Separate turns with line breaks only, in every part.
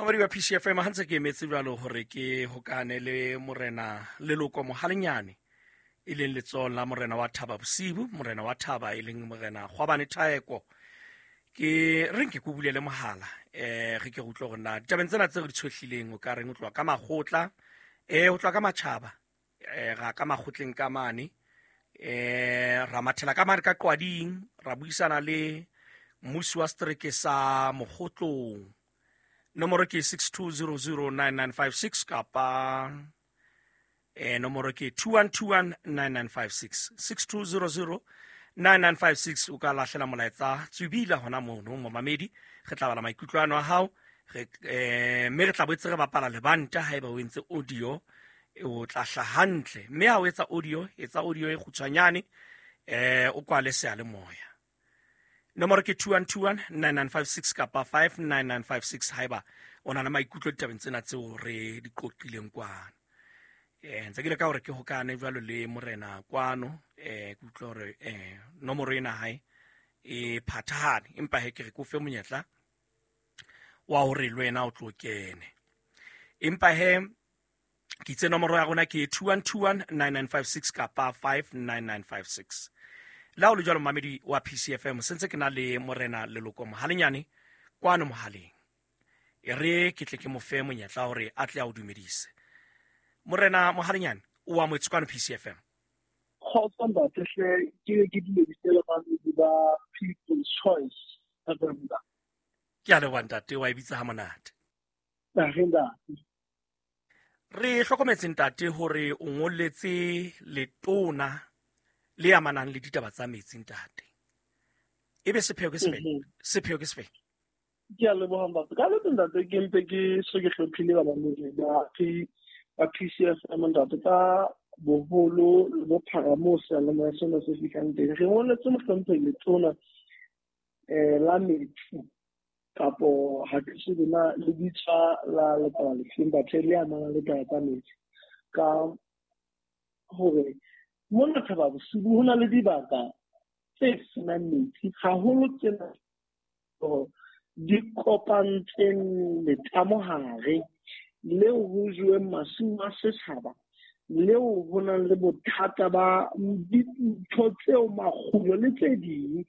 Mamadi wa PCFM, ha ntse ke emetse jwalo hore ke hokane le morena Leloko Mohalenyane, e leng letsohong la morena wa Thaba Bosibu, morena wa Thaba e leng morena Kgwabane Thaeko. Ke re nke ke o bulele mohala, re ke re utlwe hore na ditabeng tsena tse re di tshohlileng o ka reng, o tloha ka makgotla, o tloha ka matjhaba, ra ka makgotleng ka mane, ra mathela ka mane ka Qwading, ra buisana le mmusi wa setereke sa Mokgotlong. Nomoro ke 62009956 kapa nomoro ke 21219956, 62009956. O ka lahlela molaetsa tswibila hona mono momamedi, re tla bala maikutlo ano a hao, mme re tla boetse re bapala lebanta. Haeba o entse audio, o tla hla hantle, mme ha o etsa audio, etsa audio e kgutshwanyane, o kwale seyalemoya. Nomoro ke 21219956 kapa 59956 haeba o na le maikutlo ditabeng tsena tseo re di qoqileng kwano. Ntse ke le ka hore ke hokane jwalo le morena kwano, ke utlwa hore nomoro ena hae e phathahane, empa he ke re ke o fe monyetla wa hore le wena o tlo kene. Empa he ke itse nomoro ya rona ke 21219956 kapa 59956. Le ha o le jwalo momamedi wa PCFM, sentse ke na le morena Leloko Mohalenyane kwano mohaleng. E re ke tle ke mo fe monyetla hore a tle a o dumedise. Morena Mohalenyane, o amohetswe kwano PCFM.
Kgotso ntate hle, ke ke dumedise le bamamedi ba People's Choice FM.
Ke a leboha ntate, wa e bitsa ha monate.
Ntate.
Re hlokometse ntate hore o ngolletse letona le amanang le ditaba tsa metsi ntate. Ebe sepheo ke sefe? Sepheo ke sefe?
Ke a leboha ntate. Ka letse ntate ke mpe ke se ke hlomphile ba bamamedi ba ba PCFM ntate ka boholo le bophara moo seyalemoya sena se fihlang teng. Re ngolletse mohlomphehi letona la metsi kapo ha ke tsebe na le bitswa la lekala lefeng, batho le amanang le taba tsa metsi, ka hore mona Thaba Bosiu ho na le dibaka tse senang metsi haholo, tsena di kopantseng letamo hare leo ho jeweng masimo a setjhaba, leo ho nang le bothata ba dintho tseo makgulo le tse ding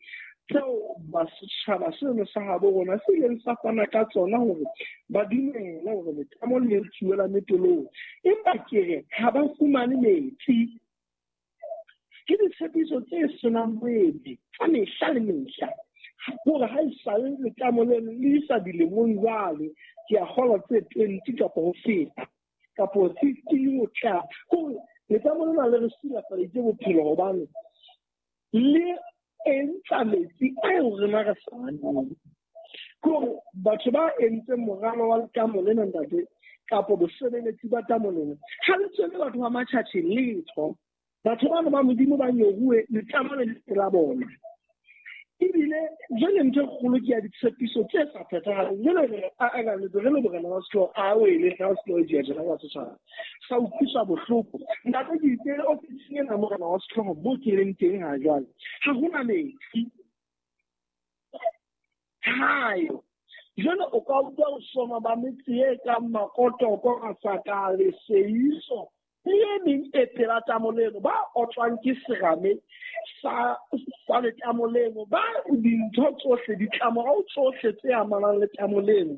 tseo ba setjhaba seno sa habo rona se ileng sa fana ka tsona hore ba dumele hore letamo le etsuwe la Metolong, empa ke re ha ba fumane metsi. Ke ditshepiso tse senang moedi tsa mehla le mehla, hore ha esale letamo leno le isa dilemong jwale, ke a kgolwa tse 20 kapa ho feta kapo 15 ho tla, hore letamo lena le re silafaditse bophelo hobane le entsa metsi a eo rena re sa aneng. Ke hore batho ba entseng moralo wa letamo lena ntate kapo bosebeletsi ba tamo lena, ha le tswele batho ba matjhatjhe letho. Batho bano ba Modimo ba nyoruwe letamo le le la bona. Ebile jwale ntho e kgolo ke ya ditshepiso tse sa phethahaleng. Jwale re a a le re le morena wa sehlooho, a wele ha sehlooho e jena wa setjhaba. Sa utlwiswa bohloko. Ntate ke itse ofising ena morena wa sehlooho mo ke leng teng ha jwale. Ha hona metsi. Hayo. Jwale o ka utlwa ho soma ba metse e kang Makotoko, Masaka, Leseiso, le e meng e pela tamo leno, ba otlwang ke serame sa letamo leno, ba dintho tsohle, ditlamorao tsohle tse amanang le tamo leno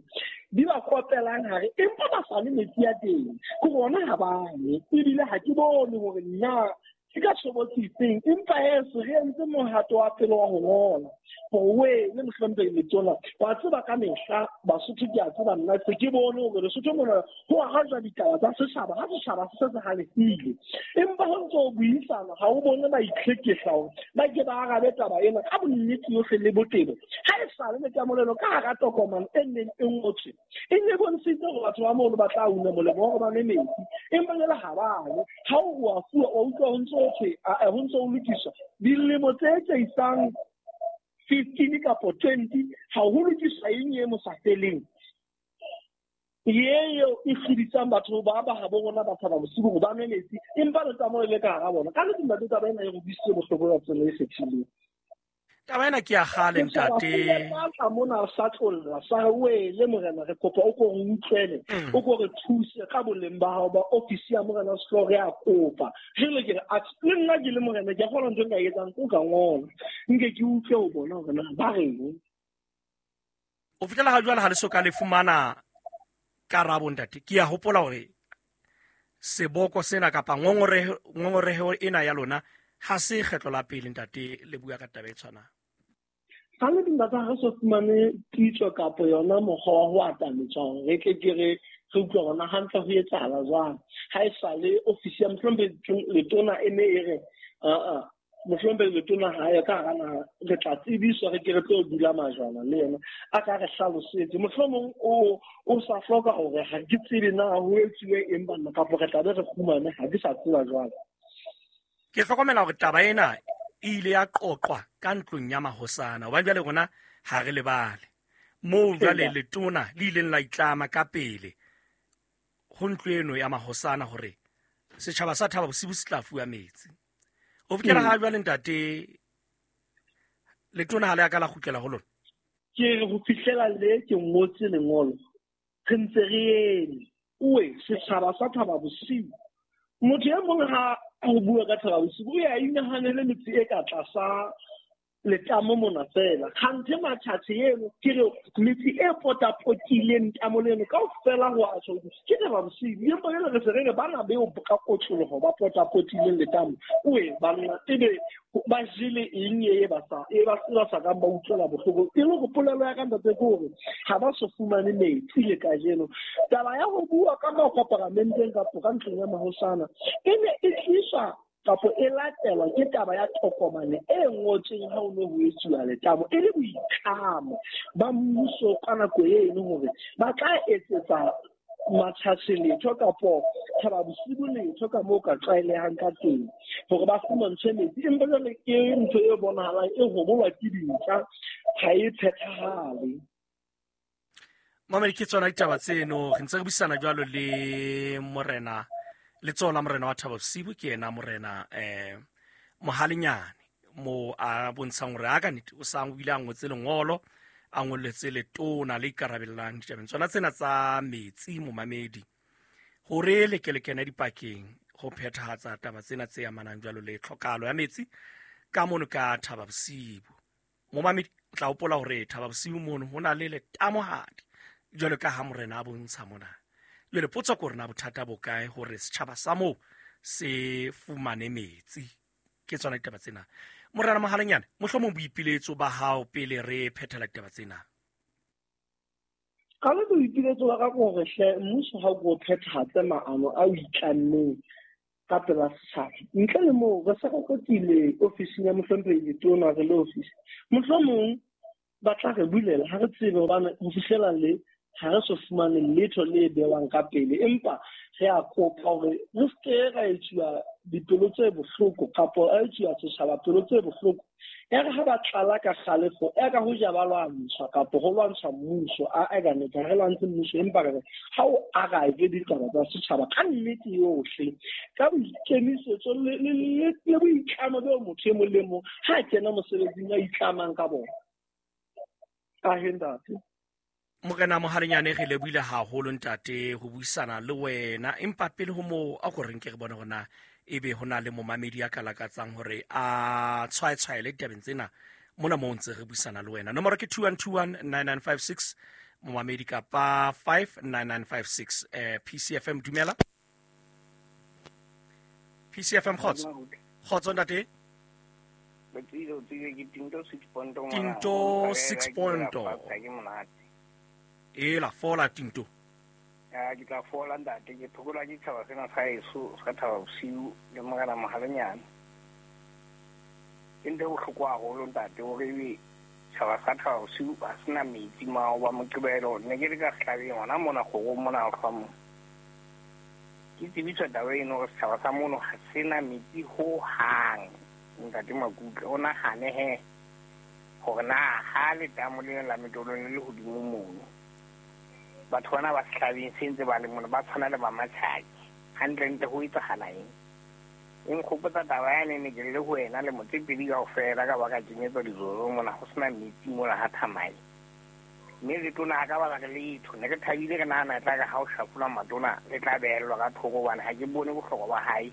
di ba kopelang hare, empa ba sa le metsi a teng. Ke bona ha ba nwe, ebile ha ke bone hore na ke ka tshobotsi efeng, empa he se re entse mohato wa pele wa ho ngola hore we le mohlomphehi letona wa tseba ka mehla Basotho, ke a tseba nna se ke bone hore Lesotho mona ho arajwa ditaba tsa setjhaba ha setjhaba se se halefile, empa ho ntse ho buisana ha o bone ba itlhekehla hore ba ke ba arabe taba ena ka bonnete yohle le botebo. Ha e sale letamo leno ka hara tokomane e neng e ngotswe e ne bontshitse hore batho ba mono ba tla una molemo wa hore ba nwe metsi, empa jwale ha ba nwe. Ha o wa fuwa, wa utlwa ho ntso ho thwe, ho ntso ho lokiswa dilemo tse tse isang 15 kapo 20, ha ho lokiswa eng e mo sa feleng eo e hlodisang batho ba ba habo rona ba Thaba Bosiu hore ba nwe metsi, empa letamo le le ka hara bona. Ka nnete ntate, taba ena e re utlwisitse bohloko ka tsela e kgethileng.
Taba ena ke ya kgale ntate.
Sa mona sa tlolla sa re wele morena, re kopa o ko re utlwele, o ko re thuse ka boleng ba hao ba ofisi ya morena Sehlooho, re a kopa. Jwale ke re le nna ke le morena ke a kgona ntho e nka e etsang ko ka ngola nke ke utlwe ho bona hore na ba reng.
O fihlela ha jwale ha le so ka le fumana karabo ntate. Ke a hopola hore seboko sena kapa ngongoreho ena ya lona ha se kgetlo la pele ntate le bua ka taba e tshwanang.
Ga le ntate ha re so fumane pitso kapa yona mokgwa wa ho atametswa hore re tle ke re re utlwe hore na hantle ho etsahala jwang. Ha e sale ofisi ya mohlomphehi letona e ne e re aa mohlomphehi letona ha ya ka hara naha, re tla tsebiswa re ke re tlo dula majwana le yena a ka re hlalosetse. Mohlomong o sa hloka hore ha ke tsebe na ho etsuwe eng banna kapa re tla be re kgumane, ha ke sa tseba jwale.
Ke hlokomela hore taba ena e ile ya qoqwa ka ntlong ya mahosana, hobane jwale rona ha re lebale moo jwale letona le ileng la itlama ka pele ho ntlo eno ya mahosana hore setjhaba sa Thaba Bosiu se tla fuwa metsi. O fihlela ha jwale ntate letona ha le a ka la kgutlela ho lona?
Ke re ho fihlela le ke ngotse lengolo, re ntse re eme. Oe setjhaba sa Thaba Bosiu, motho e mong ha ho bua ka Thaba Bosiu o ya inahanele metse e ka tlasa letamo mona fela. Kganthe Matjhatjhe eno ke re metse e potapotileng tamo leno kaofela ho a tjho ke Thaba Bosiu. Empa jwale re se re re bana beo ka kotloloho ba potapotileng letamo, oe banna ebe ba jele eng e ba sa e ba sa kang ba utlwela bohloko. E le hore polelo ya ka ntate ke hore ha ba so fumane metsi le kajeno. Taba ya ho bua ka makoporamenteng kapa ka ntlong ya mahosana e ne e tliswa kapo e latelwa ke taba ya tokomane e ngotsweng ha o ne ho etsuwa letamo, e le boitlamo ba mmuso ka nako eno hore ba tla etsetsa Matjhatjhe letho kapo Thaba Bosiu letho ka moo ka tlwaelehang ka teng hore ba fumantshwe metsi. Empa jwale ke ntho e bonahalang e hobolwa ke dintja, ha e phethahale.
Mamedi, ke tsona ditaba tseno re ntse re buisana jwalo le morena letsoho la morena wa Thaba Bosiu, ke yena morena Mohalenyane, mo a bontshang hore a ka nnete o sa o ile a ngotse lengolo a ngolletse letona le ikarabellang ditabeng tsona tsena tsa metsi momamedi, hore le ke le kene dipakeng ho phethahatsa taba tsena tse amanang jwalo le tlhokahalo ya metsi ka mono ka Thaba Bosiu. Momamedi o tla hopola hore Thaba Bosiu mono ho na le letamohadi jwalo ka ha morena a bontsha mona. Jwale potso ke hore na bothata bo kae hore setjhaba sa moo se fumane metsi. Ke tsona ditaba tsena. Morena Mohalenyane, mohlomong boipiletso ba hao pele re phethela ditaba tsena.
Ka le boipiletso ba ka ke hore hle mmuso ha o ko phethahatse maano a o itlammeng ka pela setjhaba. Ntle le moo re se re kotile ofising ya mohlomphehi letona re le ofisi. Mohlomong ba tla re bulela, ha re tsebe hobane ho fihlela le ha re so fumane letho le bewang ka pele, empa re a kopa hore re seke ra etsuwa dipelo tse bohloko kapo a etsuwa setjhaba pelo tse bohloko. Ya re ha ba tlala ka kgalefo, ya ka ho ja ba lwantshwa kapo ho lwantshwa mmuso, a ka nnete ha re lwantshe mmuso, empa re re ha o arabe ditaba tsa setjhaba ka nnete yohle, ka boikemisetso le boitlamo beo motho e mong le mong ha a kena mosebetsing a itlamang ka bona. Ahe ntate.
Morena Mohalenyane, re lebohile haholo ntate ho buisana le wena, empa pele ho moo a ko re nke re bone hore na ebe ho na le momamedi ya ka lakatsang hore a tshwaetshwaele ditabeng tsena mona moo ntse re buisana le wena. Nomoro ke 21219956 momamedi kapa 59956. PCFM, dumela. PCFM, kgotso. Kgotso ntate. Tinto 6 point. E la fola Tinto.
Ya ke tla fola ntate, ke thokola ke tshaba sena sa heso sa Thaba Bosiu le morena Mohalenyane. Ke ntho e bohloko haholo ntate hore ebe tshaba sa Thaba Bosiu ha sena metsi mao ba Moqebelo. Ne ke le ka sehlabeng hona mona kgorong mona ho hlwa mona. Ke tsebiswa taba eno hore setjhaba sa mono ha sena metsi hohang. Ntate Makutle, o nahane he hore na ha letamo lena la Metolong le le hodimo mono, batho bana ba sehlabeng se ntse ba le mona ba tshwana le ba Matjhaki. Hantlentle ho etsahala eng? E nkgopotsa taba yane ne ke le ho wena le Motsepedi kaofela ka ba ka kenyetswa dizozo mona ho sena metsi mona ha Thamae. Mme letona ha ka ba re letho, ne re thabile re nahana e tla re ha o shafola matona le tla behellwa ka thoko hobane ha ke bone bohlokwa ba hae.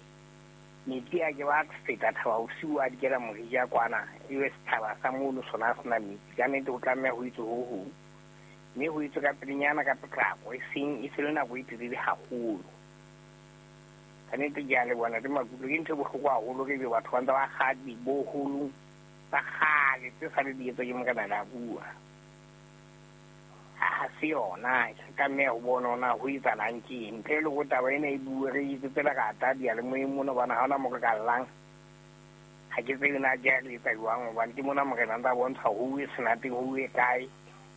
Metsi a ke ba feta Thaba Bosiu a dikela morija kwana, ebe sethaba sa mono sona a sena metsi. Ka nnete ho tlameha ho etswe ho hong, mme ho etswe ka pelenyana ka potlako, e seng e se le nako e telele haholo. Ka nnete ke a leboha Ntate Makuto, ke ntho e bohloko haholo re ebe batho ba ntse ba kga diboholong tsa kgale tse sa le di etswa ke Morena Leabua. Ha se yona, re tlameha ho bona hore na ho etsahalang ke eng. Ntle le hore taba ena e bue re etsetse lerata diyalemoyeng mona hobane ha hona mo re ka llang. Ha ke tsebe na ke re etsa jwang hobane ke mona Morena ntse a bontsha ho uwe senateng, ho uwe kae,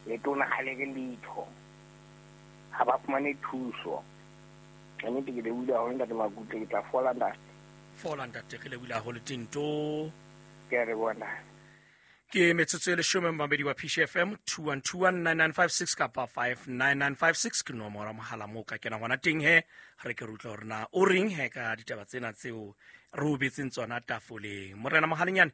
letona ha le re letho. Ha ba fumane thuso. Ka nnete ke lebohile haholo Ntate Makutle, ke tla fola ntate.
Fola ntate, re lebohile haholo Tinto.
Ke a leboha ntate.
Ke metsotso e leshome mamedi wa PCFM 21219956 kapa 59956 ke nomoro ya mohala moo ka kena gona teng he re ke re utlwa hore na o reng he ka ditaba tsena tseo re o betseng tsona tafoleng. Morena Mohalenyane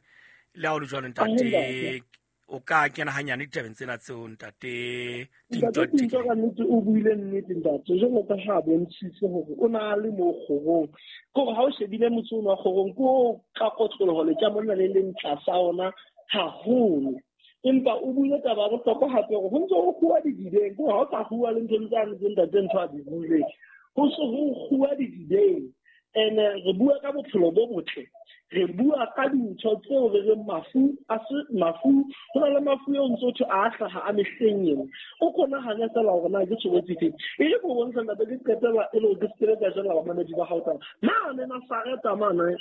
le ha o le jwalo ntate, o ka kena hanyane ditabeng tsena tseo ntate
Tinto. Ntate Tinto ka nnete o buile nnete ntate, jwalo ka ha a bontshitse hore o na le mo kgorong. Ke hore ha o shebile motse ono wa kgorong, ke o ka kotloloho letamo lena le leng tlasa ona haholo. Empa o buile taba ya bohlokwa hape hore ho ntse ho kguwa didibeng, ke hore ha o sa kguwa le ntho tsane tse ntate ntho a di buileng, ho se ho kguwa didibeng. Ene re bua ka bophelo bo botle, re bua ka dintho tseo re reng mafu a se mafu, ho na le mafu eo ntse ho thwe a hlaha a mehleng ena. O ko nahane fela hore na ke tshobotsi efe. E re ko bontsha ntate, ke qetela e le hore ke se ke ka jella bamamedi ba hao taba. Mane Nazareta mane,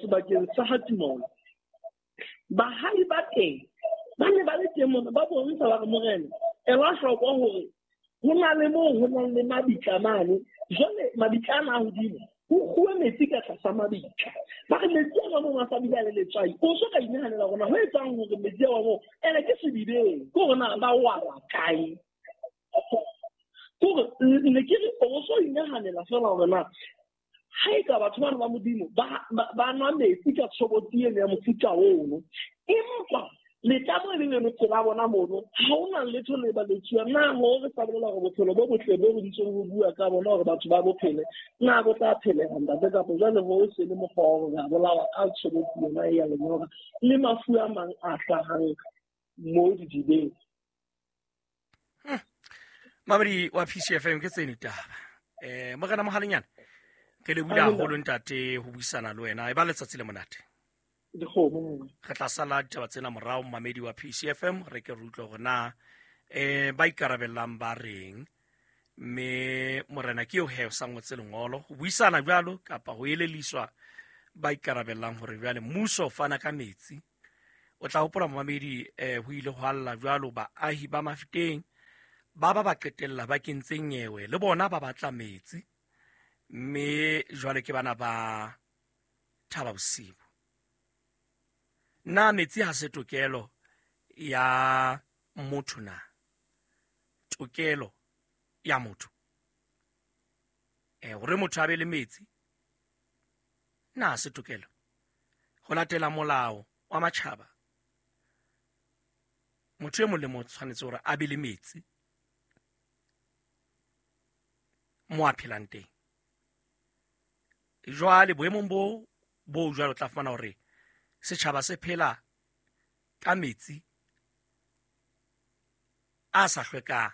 sebakeng sa ha Timolo, bahai ba teng ba ne ba le teng mona, ba bontsha ba re Morena, ela hloko hore ho na le moo ho nang le mabitla mane. Jwale mabitla ana a hodimo, ho kguwe metsi ka tlasa mabitla. Ba re metsi a moo a sa bile a le letswai. O so ka inahanela hore na ho etsang hore metsi a moo, ene ke sedibeng, ke hore na ba wala kae. Ke hore ne ke re o so inahanela fela hore na ha e ka batho bana ba Modimo ba nwa metsi ka tshobotsi eno ya mofuta ono, empa letamo e le leno tsela bona mono, ha hona letho le ba le tsuwa. Na ho re sa bolela hore bophelo bo botle bo re ntseng ho bua ka bona hore batho ba bo phele, na bo tla phelega ntate? Kapa jwale ho se le mokgwa wa hore re a bolawa ka tshobotsi yona e ya lenyora le mafu a mang a hlahang mo didibeng.
Mamedi wa PCFM ke tseno ditaba. Morena Mohalenyane, re lebohile haholo ntate ho buisana le wena. E ba letsatsi le monate.
Dikgomo.
Re tla sala ditaba tsena morao mamedi wa PCFM, re ke re utlwe hore na ba ikarabellang ba reng. Mme morena ke eo he o sa ngotse lengolo ho buisana jwalo kapa ho eleliswa ba ikarabellang hore jwale mmuso o fana ka metsi. O tla hopola mamedi, ho ile ho alla jwalo baahi ba Mafeteng ba ba ba qetella ba kentse nyewe le bona ba batla metsi, mme jwale ke bana ba Thaba Bosiu. Na metsi ha se tokelo ya motho na? Tokelo ya motho. Hore motho a be le metsi, na ha se tokelo? Ho latela molao wa matjhaba, motho e mong le mong o tshwanetse hore a be le metsi mo a phelang teng. Jwale boemong bo jwalo o tla fumana hore setjhaba se phela ka metsi a sa hlwekang,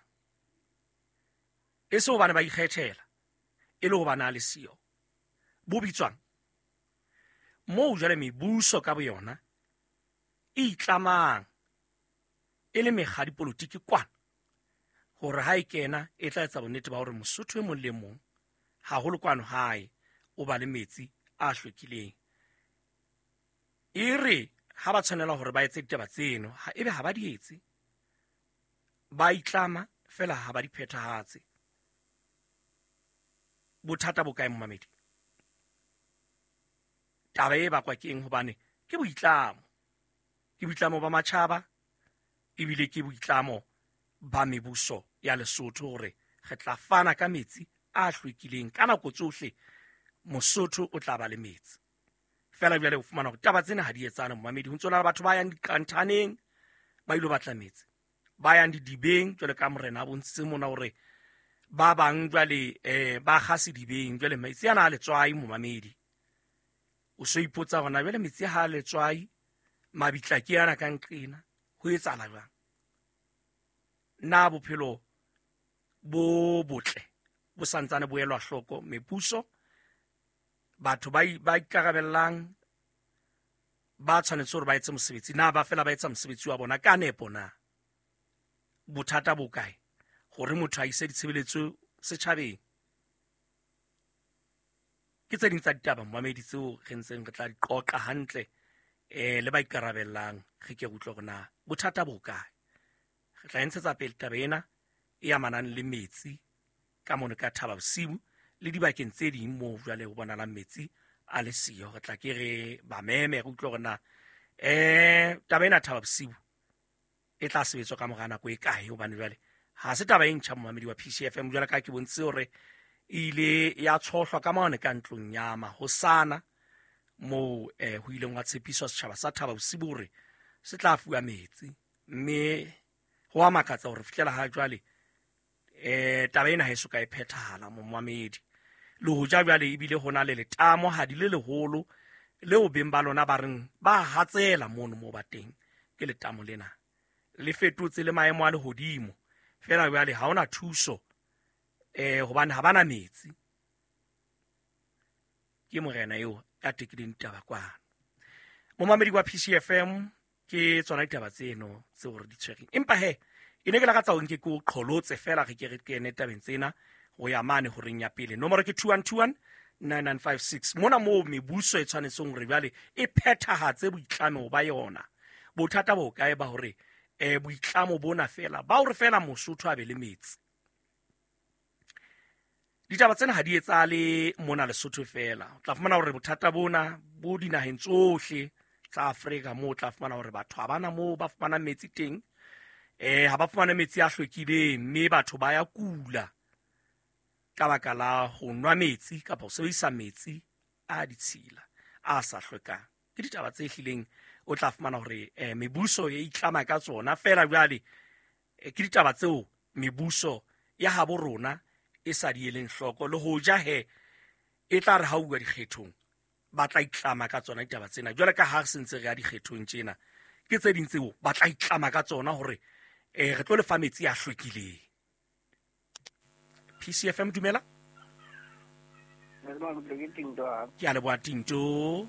e se hobane ba ikgethela, e le hobane a le siyo. Bo bitswang moo jwale mebuso ka boyona e itlamang e le mekga dipolotiki kwana hore ha e kena e tla etsa bonnete ba hore Mosotho e mong le mong haholo kwano hae o ba le metsi a hlwekileng. E re ha ba tshwanela hore ba etse ditaba tseno, ha ebe ha ba di etse, ba itlama fela ha ba di phethahatse. Bothata bo kae momamedi? Taba e bakwa ke eng? Hobane ke boitlamo, ke boitlamo ba matjhaba, ebile ke boitlamo ba mebuso ya Lesotho hore re tla fana ka metsi a hlwekileng ka nako tsohle. Mosotho o tla ba le metsi. Fela jwale o fumana hore taba tsena ha di etsane momamedi. Ho ntso na le batho ba yang diqanthaneng ba ilo batla metsi, ba yang didibeng jwale ka morena a bontshitse mona hore ba bang jwale ba kga sedibeng. Jwale metsi ana a letswai momamedi, o so ipotsa hore na jwale metsi ha a letswai, mabitla ke ana ka nqena, ho etsahala jwang? Na bophelo bo botle bo santsane bo elwa hloko mepuso, batho ba ikarabellang ba tshwanetse hore ba etse mosebetsi, na ba fela ba etsa mosebetsi wa bona ka nepo? Na bothata bo kae hore motho a ise ditshebeletso setjhabeng? Ke tse ding tsa ditaba momamedi tseo re ntseng re tla di qoqa hantle le ba ikarabellang, re ke re utlwe hore na bothata bo kae. Re tla ntshetsa pele taba ena e amanang le metsi ka mono ka Thaba Bosiu le dibakeng tse ding moo jwale ho bonalang metsi a le siyo. Re tla ke re ba meme re utlwe hore na taba ena Thaba Bosiu e tla sebetswa ka mora nako e kae, hobane jwale ha se taba e ntjha momamedi wa PCFM. Jwale ka ke bontshitse hore e ile ya tshohlwa ka mane ka ntlong ya mahosana moo ho ileng wa tshepiswa setjhaba sa Thaba Bosiu hore se tla fuwa metsi, mme ho a makatsa hore fihlela ha jwale taba ena ha e so ka e phethahala momamedi. Le hoja jwale ebile ho na le letamo ha di le leholo leo beng ba lona ba reng ba hatsela mono moo ba teng, ke letamo lena le fetotse le maemo a lehodimo. Fela jwale ha hona thuso hobane ha bana metsi. Ke morena eo ya tekileng ditaba kwano. Momamedi wa PCFM, ke tsona ditaba tseno tseo re di tshwereng. Empa he e ne ke lakatsa hore nke ke o qholotse fela re ke re kene tabeng tsena ho ya mane horeng ya pele. Nomoro ke 2121 9956. Mona moo mebuso e tshwanetseng hore jwale e phethahatse boitlamo ba yona. Bothata bo kae ba hore boitlamo bona fela ba hore fela Mosotho a be le metsi? Ditaba tsena ha di etsahale mona Lesotho fela. O tla fumana hore bothata bona bo dinaheng tsohle tsa Afrika, moo o tla fumana hore batho ha bana moo ba fumanang metsi teng, ha ba fumane metsi a hlwekileng, mme batho ba ya kula ka baka la ho nwa metsi kapa ho sebedisa metsi a ditshila a sa hlwekang. Ke ditaba tse hlileng o tla fumana hore mebuso e itlama ka tsona. Fela jwale ke ditaba tseo mebuso ya habo rona e sa di eleng hloko, le hoja he e tla re ha uwa dikgethong ba tla itlama ka tsona ditaba tsena. Jwale ka ha re sentse re ya dikgethong tjena, ke tse ding tseo ba tla itlama ka tsona hore re tlo lefa metsi a hlwekileng. PCFM, dumela. Ke a leboha Tinto.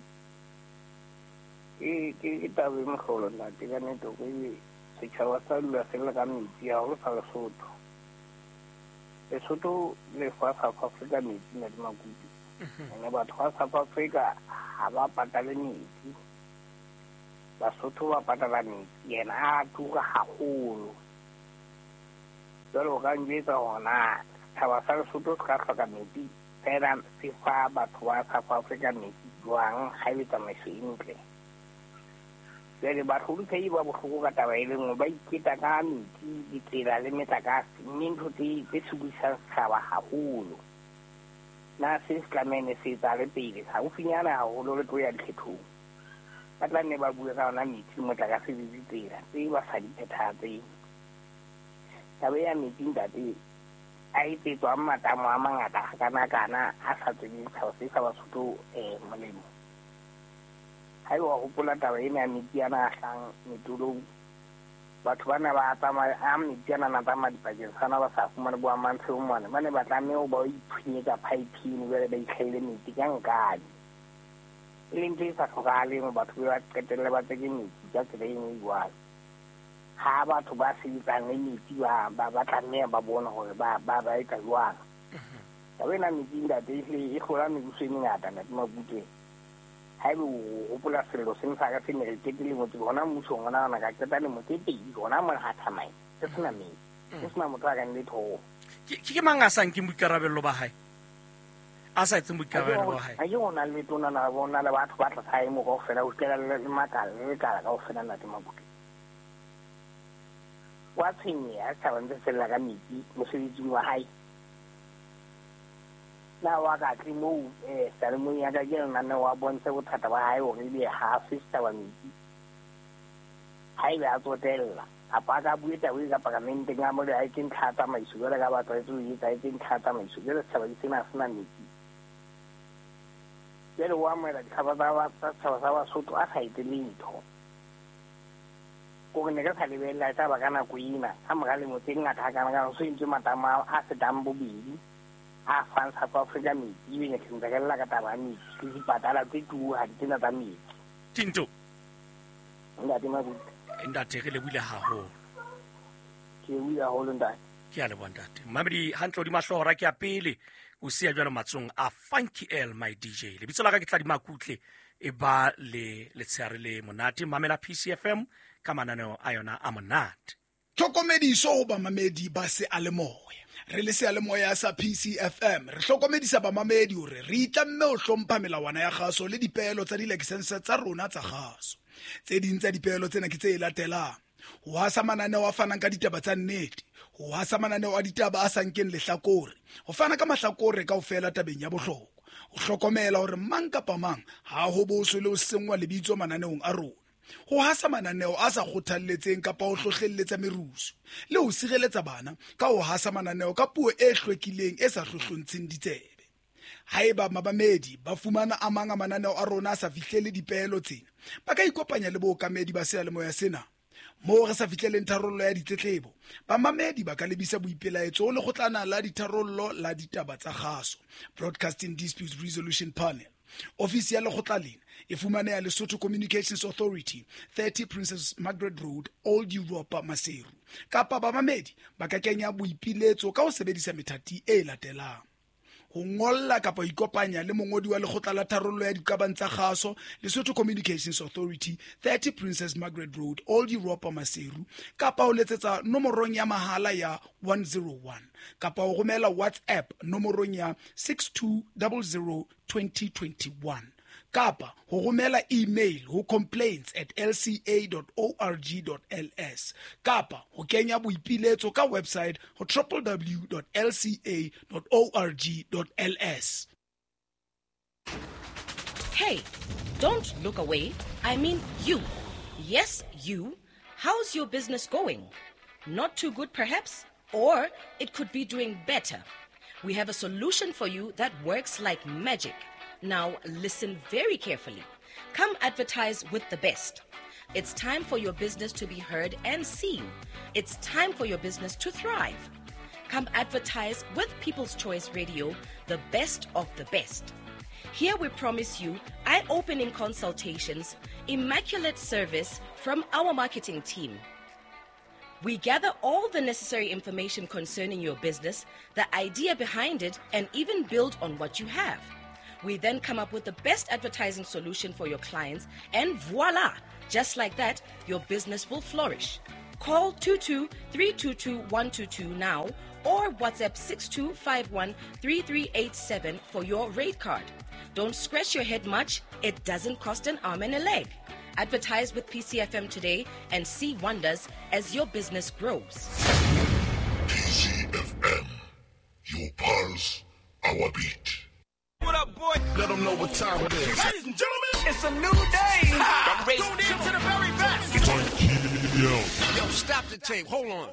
Ke taba e mohlolo ntate, ka nnete hore setjhaba sa dula se lla ka metsi haholo sa Lesotho. Lesotho le fa South Africa metsi ntate Makutu. Ene batho ba South Africa ha ba patale metsi, Basotho ba patala metsi, yena a tura haholo. Jwale o ka njwetsa hore na setjhaba sa Lesotho se ka hloka metsi fela se fa batho ba South Africa metsi jwang ha ebe tsamaiso e ntle? Jwale bahlomphehi ba bohloko ka taba e le nngwe, ba iketa ka metsi, ditsela le metlakase, mme ntho tse sokodisang setjhaba haholo. Na se se tlamehile se etsahale pele haufinyana haholo re tlo ya dikgethong, ba tla nne ba bue ka yona metsi, motlakase le ditsela tse ba sa di phethahatseng. Taba ya metsi ntate a etsetswang matamo a mangata hakana-kana a sa tsweleng setjhaba se sa Basotho molemo. Haeba wa hopola taba ena ya metsi ana a hlang metolong, batho bana ba tsamaya a metsi ana na tsamaya dipakeng sana ba sa fumane bo amantshe mane, ba ne ba tlameha ho ba iphunyetsa pipe eno jwale ba itlhaile metsi ka nkane. E leng ntho e sa hlokahaleng batho ba qetelle ba tseke metsi ka tsela e nngwe jwalo. Ha batho ba sebetsang le metsi ba tlameha ba bone hore ba etsa jwang. Taba ena metsi ntate e hlola mebuso e mengata ntate Makutu. Haebe o hopola sello seng sa ka se ne re qete lemo tse hona mmusong ona ona ka qeta lemo tse pedi hona mona ha thamae se sena metsi, se sena motho a kang le thoho.
Ke mang a sa nkeng boikarabello ba hae? A sa etseng boikarabello ba hae?
Ha ke ona le tona na bona le batho ba tlasa hae mo kaofela ho fihlela le makala le lekala kaofela ntate Makutu. Wa tshwenyeha setjhaba ntse se lla ka metsi mosebetsing wa hae. Na wa ka tle moo seyalemoyeng ya ka ke lenaneo a bontshe bothata ba hae hore ebe ha a fe setjhaba metsi. Haebe a tsotella kapa a ka bue taba e ka paramenteng a mole a etse ntlha ya tsamaiso jwale ka ba tlwaetse ho etsa, a etse ntlha ya tsamaiso. Jwale setjhaba ke sena ha se na metsi. Jwale o amohela ditlhapa tsa setjhaba sa Basotho a sa etse letho. Kore ne re sa lebella e tla ba ka nako ena ka mora lemo tse ngata hakana-kana ho so entswe matamo a fetang bobedi a fang South Africa metsi, ebe ne re ntse re lla ka taba ya metsi le dipatala tse tuohadi tsena tsa metsi.
Tinto.
Ntate Mabuti.
Ntate re lebohile haholo.
Ke lebohile haholo ntate.
Ke a leboha ntate. Mmamedi hantle hodima hlooho hora ke ya pele o siya jwalo matsong a Funky L my DJ. Lebitso la ka ke Tladi Makutle e ba le letshehare le monate. Mamela PCFM ka mananeo a yona a monate.
Tlhokomediso ho bamamedi ba seyalemoya. Re le seyalemoya sa PCFM re hlokomedisa bamamedi hore re itlamme ho hlompha melawana ya kgaso le dipeelo tsa dilakesense tsa rona tsa kgaso. Tse ding tsa dipeelo tsena ke tse latelang: ho hasa mananeo a fanang ka ditaba tsa nnete, ho hasa mananeo a ditaba a sa nkeng lehlakore, ho fana ka mahlakore kaofela tabeng ya bohlokwa, ho hlokomela hore mang kapa mang ha ho boswe le ho senngwa lebitso mananeong a rona, ho hasa mananeo a sa kgothalletseng kapa ho hlohlelletsa merusu, le ho sireletsa bana ka ho hasa mananeo ka puo e hlwekileng e sa hlohlontsheng ditsebe. Haeba mamamedi ba fumana a mang a mananeo a rona a sa fihlele dipeelo tsena, ba ka ikopanya le bookamedi ba seyalemoya sena. Moo re sa fihleleng tharollo ya ditletlebo, bamamedi ba ka lebisa boipelaetso ho lekgotlana la ditharollo la ditaba tsa kgaso, Broadcasting Disputes Resolution Panel. Ofisi ya lekgotla lena e fumaneha Lesotho Communications Authority, 30 Princess Margaret Road, Old Europa, Maseru. Kapa bamamedi ba ka kenya boipiletso ka ho sebedisa methati e latelang: ho ngolla kapa ho ikopanya le mongodi wa lekgotla la tharollo ya diqabang tsa kgaso, Lesotho Communications Authority, 30 Princess Margaret Road, Old Europa, Maseru, kapa ho letsetsa nomorong ya mahala ya 101, kapa ho romela WhatsApp nomorong ya 6200 2021, kapa ho romela email ho complaints@lca.org.ls, kapa ho kenya boipiletso ka website ho www.lca.org.ls.
Hey, don't look away. I mean you. Yes, you. How's your business going? Not too good, perhaps? Or it could be doing better. We have a solution for you that works like magic. Now, listen very carefully. Come advertise with the best. It's time for your business to be heard and seen. It's time for your business to thrive. Come advertise with People's Choice Radio, the best of the best. Here we promise you eye-opening consultations, immaculate service from our marketing team. We gather all the necessary information concerning your business, the idea behind it, and even build on what you have. We then come up with the best advertising solution for your clients, and voila! Just like that, your business will flourish. Call 22-322-122 now or WhatsApp 6251-3387 for your rate card. Don't scratch your head much. It doesn't cost an arm and a leg. Advertise with PCFM today and see wonders as your business grows.
PCFM, your pulse, our beat.
What up, boy?
Let them know what time it is.
Ladies and gentlemen, it's a new day.
I'm
ready. Tuned in to the very best.
It's on.
Yo, stop the tape. Hold on.